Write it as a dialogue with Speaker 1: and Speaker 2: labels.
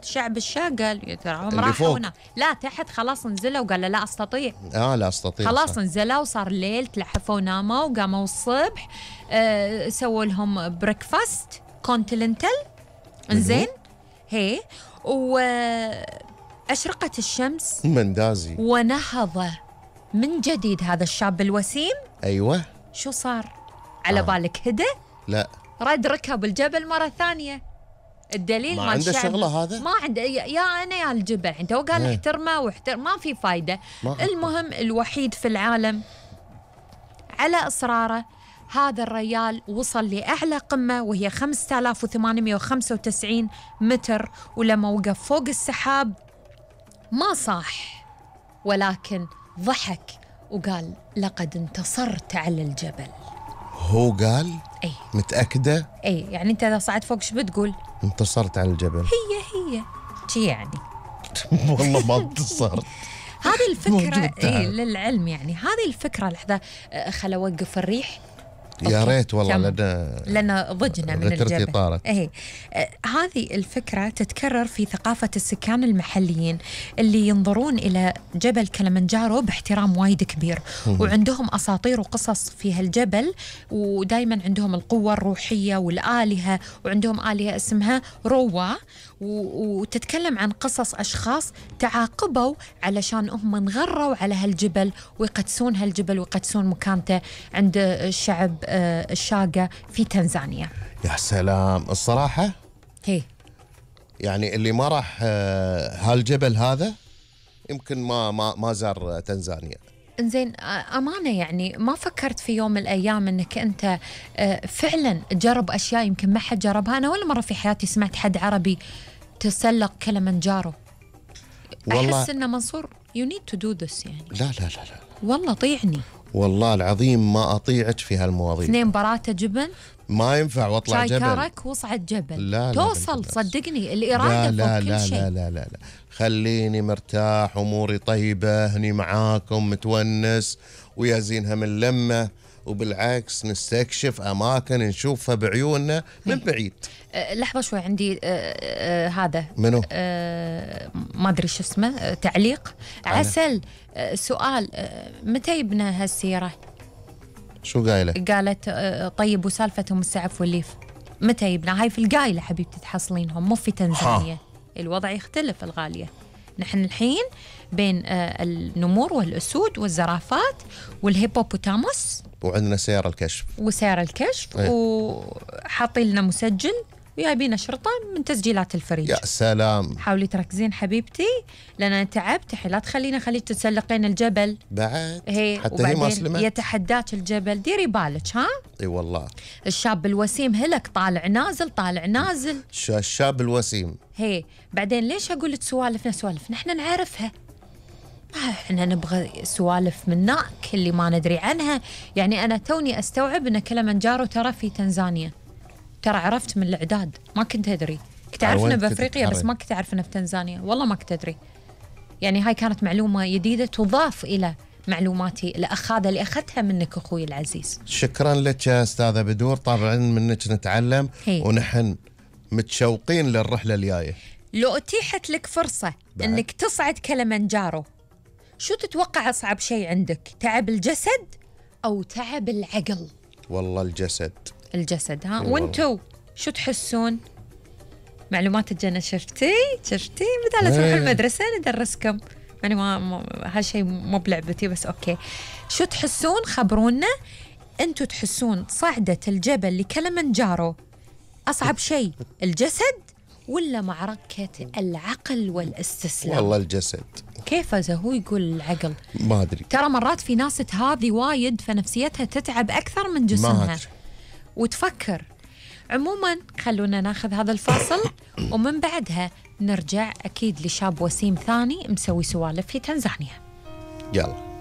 Speaker 1: شعب الشاه قال تراهم
Speaker 2: اللي
Speaker 1: راحوا
Speaker 2: فوق.
Speaker 1: هنا، لا تحت خلاص نزلوا وقال لا أستطيع.
Speaker 2: لا أستطيع
Speaker 1: خلاص نزلوا وصار ليل، تلحفوا وناموا وقاموا الصبح سووا لهم بريكفاست كونتيننتال. انزين هي وأشرقت الشمس
Speaker 2: مندازي
Speaker 1: ونهض من جديد هذا الشاب الوسيم.
Speaker 2: أيوة.
Speaker 1: شو صار؟ على بالك هدى؟
Speaker 2: لا
Speaker 1: رد ركب الجبل مرة ثانية. الدليل
Speaker 2: ما
Speaker 1: مال
Speaker 2: عنده
Speaker 1: الشعب
Speaker 2: شغلة هذا؟
Speaker 1: ما عنده، يا أنا يا الجبل عنده، وقال احترمه ما في فايدة. المهم الوحيد في العالم على إصراره هذا الريال وصل لأعلى قمة وهي 5895 متر، ولما وقف فوق السحاب ما صاح ولكن ضحك وقال لقد انتصرت على الجبل.
Speaker 2: هو قال؟
Speaker 1: أي
Speaker 2: متأكدة؟
Speaker 1: أي يعني أنت إذا صعدت فوق شو بتقول؟
Speaker 2: انتصرت على الجبل.
Speaker 1: هي شي يعني
Speaker 2: والله ما انتصرت.
Speaker 1: هذه الفكرة للعلم، يعني هذه الفكرة. لحظة خل أوقف الريح.
Speaker 2: يا ريت والله
Speaker 1: لأن ضجنا من الجبل.
Speaker 2: طارت.
Speaker 1: هذه الفكرة تتكرر في ثقافة السكان المحليين اللي ينظرون إلى جبل كلمنجارو باحترام وايد كبير، وعندهم أساطير وقصص في هالجبل، ودايما عندهم القوة الروحية والآلهة، وعندهم آلهة اسمها روا، وتتكلم عن قصص أشخاص تعاقبوا علشان هم انغروا على هالجبل ويقدسون هالجبل ويقدسون مكانته عند الشعب الشاقة في تنزانيا.
Speaker 2: يا سلام. الصراحة
Speaker 1: هي
Speaker 2: يعني اللي ما راح هالجبل هذا يمكن ما زار تنزانيا.
Speaker 1: إنزين أمانة يعني ما فكرت في يوم من الأيام أنك أنت فعلا تجرب أشياء يمكن ما حد جربها؟ أنا ولا مرة في حياتي سمعت حد عربي تسلق كلمنجارو. أحس أن منصور you need to do this يعني.
Speaker 2: لا
Speaker 1: والله طيعني،
Speaker 2: والله العظيم ما أطيعك في هالمواضيع.
Speaker 1: 2 براته جبن
Speaker 2: ما ينفع واطلع جبل.
Speaker 1: شاي كرك واصعد جبل.
Speaker 2: لا
Speaker 1: توصل
Speaker 2: لا
Speaker 1: صدقني الإرادة
Speaker 2: لا
Speaker 1: فوق كل شيء.
Speaker 2: لا خليني مرتاح، أموري طيبة هني معاكم، متونس ويا زينها من لمة، وبالعكس نستكشف أماكن نشوفها بعيوننا من بعيد.
Speaker 1: لحظة شوي عندي هذا
Speaker 2: منو؟
Speaker 1: ما أدري شو اسمه، تعليق عسل. سؤال، متى يبنى هالسيرة؟
Speaker 2: شو قايلة؟
Speaker 1: قالت طيب وسالفتهم السعف والليف متى يبنى؟ هاي في القايلة حبيبتي تحصلينهم، مو في تنزانيا. الوضع يختلف الغالية. نحن الحين بين النمور والأسود والزرافات والهيبوبوتاموس،
Speaker 2: وعندنا سيارة الكشف
Speaker 1: وسيارة الكشف وحاطين لنا مسجل ويابين شرطة من تسجيلات الفريج.
Speaker 2: يا سلام.
Speaker 1: حاولي تركزين حبيبتي لأن أنا تعبت الحين، لا خليك تتسلقين الجبل
Speaker 2: بعد.
Speaker 1: حتى هي ما سلمت. يتحداك الجبل، ديري بالك. ها
Speaker 2: اي والله. الشاب
Speaker 1: الوسيم هلك طالع نازل.
Speaker 2: الشاب الوسيم.
Speaker 1: بعدين ليش أقول لك سوالف نحن نعرفها، احنا نبغى سوالف منك اللي ما ندري عنها. يعني أنا توني أستوعب أن كلمنجارو ترى في تنزانيا، ترى عرفت من الإعداد، ما كنت أدري. كنت أعرفنا بأفريقيا بس ما كنت أعرفنا في تنزانيا، والله ما كنت أدري. يعني هاي كانت معلومة جديدة تضاف إلى معلوماتي الأخاذة اللي أخذتها منك أخوي العزيز.
Speaker 2: شكرا لك يا أستاذة بدور، طبعا منك نتعلم ونحن متشوقين للرحلة الجاية.
Speaker 1: لو أتيحت لك فرصة أنك تصعد كلمنجارو، شو تتوقع أصعب شيء عندك؟ تعب الجسد أو تعب العقل؟
Speaker 2: والله الجسد.
Speaker 1: ها وانتو شو تحسون؟ معلومات الجنة شفتي بدال تروح المدرسة ندرسكم. يعني ما هالشيء مو بلعبتي بس أوكي. شو تحسون؟ خبرونا أنتو تحسون صعدة الجبل لكلمنجارو أصعب شيء الجسد ولا معركة العقل والاستسلام؟
Speaker 2: والله الجسد.
Speaker 1: كيف هو يقول العقل؟
Speaker 2: ما أدري.
Speaker 1: ترى مرات في ناس تهاذي وايد فنفسيتها تتعب أكثر من جسمها وتفكر. عموما خلونا ناخذ هذا الفاصل ومن بعدها نرجع أكيد لشاب وسيم ثاني مسوي سوالف في تنزانيا.
Speaker 2: يلا.